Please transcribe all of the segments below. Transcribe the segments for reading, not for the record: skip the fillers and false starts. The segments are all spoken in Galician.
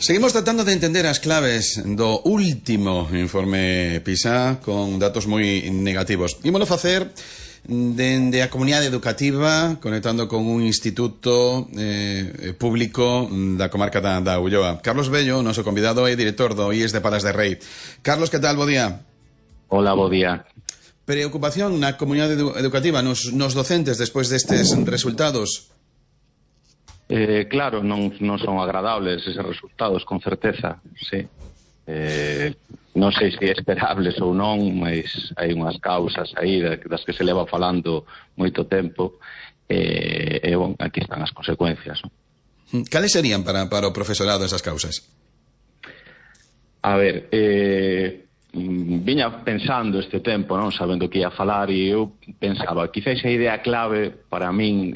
Seguimos tratando de entender as claves do último informe PISA con datos moi negativos. Ímolo facer dende a comunidade educativa, conectando con un instituto público da comarca da Ulloa. Carlos Bello, noso convidado, é director do IES de Palas de Rei. Carlos, que tal? Bo día. Hola, bo día. Preocupación na comunidade educativa, nos docentes, despois destes resultados? Claro, non son agradables eses resultados, con certeza, sí. Non sei se é esperables ou non, mas hai unhas causas aí das que se leva falando moito tempo, e bon, aquí están as consecuencias, non? Cales serían para o profesorado esas causas? A ver, viña pensando este tempo, non sabendo que ia falar, e eu pensaba, quizás a idea clave para min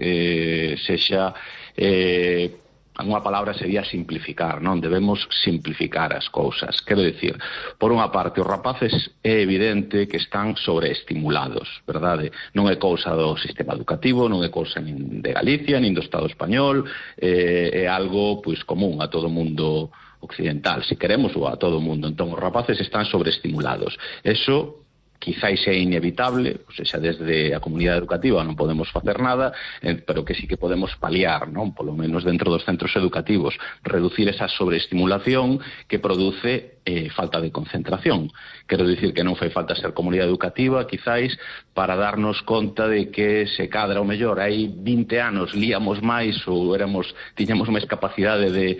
sexa unha palabra sería simplificar, non? Debemos simplificar as cousas. Quero dicir, por unha parte, os rapaces é evidente que están sobreestimulados, verdade? Non é cousa do sistema educativo, non é cousa nin de Galicia, nin do Estado español, é algo pois común a todo o mundo occidental, se queremos, ou a todo o mundo. Entón, os rapaces están sobreestimulados. Eso quizáis é inevitable, ou seja, desde a comunidade educativa non podemos facer nada, pero que sí que podemos paliar, non? Polo menos dentro dos centros educativos, reducir esa sobreestimulación que produce falta de concentración. Quero dicir que non fai falta ser comunidade educativa, quizáis, para darnos conta de que se cadra o mellor. Hai 20 anos líamos máis ou tiñamos máis capacidade de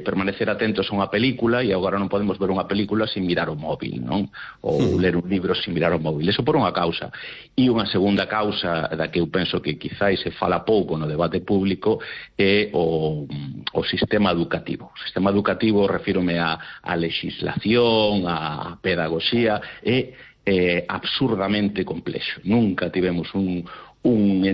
permanecer atentos a unha película e agora non podemos ver unha película sin mirar o móvil, non? Ou ler un libro sin mirar o móvil. Eso por unha causa. E unha segunda causa da que eu penso que quizáis se fala pouco no debate público é o sistema educativo. O sistema educativo, refírome a legislación, a pedagogía, é absurdamente complexo. Nunca tivemos un